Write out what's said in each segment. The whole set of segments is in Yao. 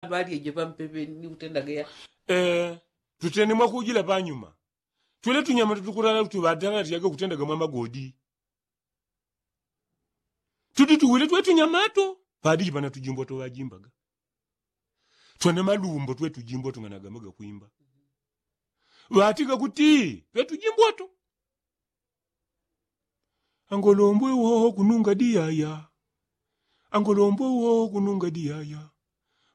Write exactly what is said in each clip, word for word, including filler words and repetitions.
Ŵalyeje ŵampepeni kutendaga ya. Tutene mwakujila panyuma. Twele tunyamato tukulala kuti ŵatalatiaga kutendaga mwamagodi. Tudi tuwile twe tunyamato. Padiji pana tujimbo twaŵajimbaga. Twana malumbo twe tujimbo tung'anagamaga kwimba. Ŵatiga kuti twe tujimbo tu. Angolombwe woho kununga diyaya. Angolombwe woho kununga diyaya.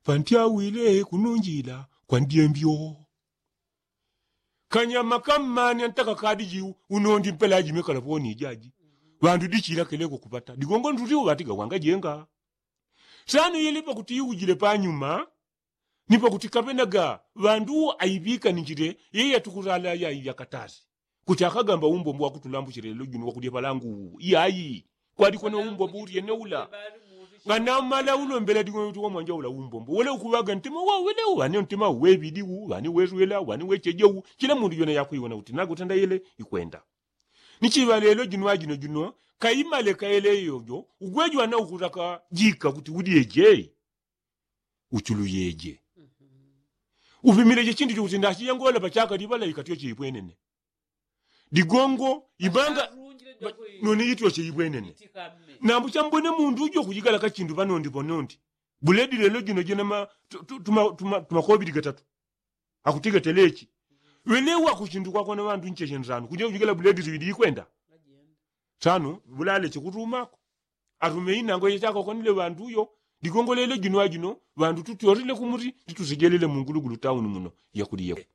Pantyawile kununjila kwa ndyembyo. Kanyama kammani antaka kadiji unondi mpela aji mekala poni ijaji. Ŵandu dichila keleko kupata digongo nduti uŵatiga wangajenga. Sano yele pakuti iujile panyuma. Ni pakuti kaŵenaga ŵandu aiŵikaninjile yeye atukulala yai yakatasi. Kuti akagamba umbombo wakutulambuchila lelo jino wakulya palangu uwu iyayi. Kwalikona umbombo ulyene ula. Nganamala ulombela digongo uti wamwanja ula umbombo wele ukuŵaga ntima wawele uŵane ntima uweŵidi uwu uŵane weswela uŵane wecheje uwu. Chila mundu jona yakwiwona kuti nagutenda yele ikwenda. Ni chiŵa lelo jino ajino jino kaimale kaele yojo ugwejo ana ukutaka jika kuti ulyeje. Uchuluyeje. Upimileje chindu chokuti ndachiyangola pachaka liŵala ikatyo cheipwenene. Digongo ibanga noni ityo cheipwenene. Nambu chambwene mundu ujo kujigala kachindu panondi ponondi. Buledi lelo jino jina ma tumakobili gatatu. Akutiga telechi. Welewa kuchindu kwakona ŵandu ncheche nsanu kuja kujigala buledi ziŵidi ikwenda. Sano bulale chikutumako. Atume inango yechakakonile ŵandu uyo. Digongo lelo jino ajino ŵandu tutyorile kumuti titusejelele mungulugulu tauni muno. Yakuliye.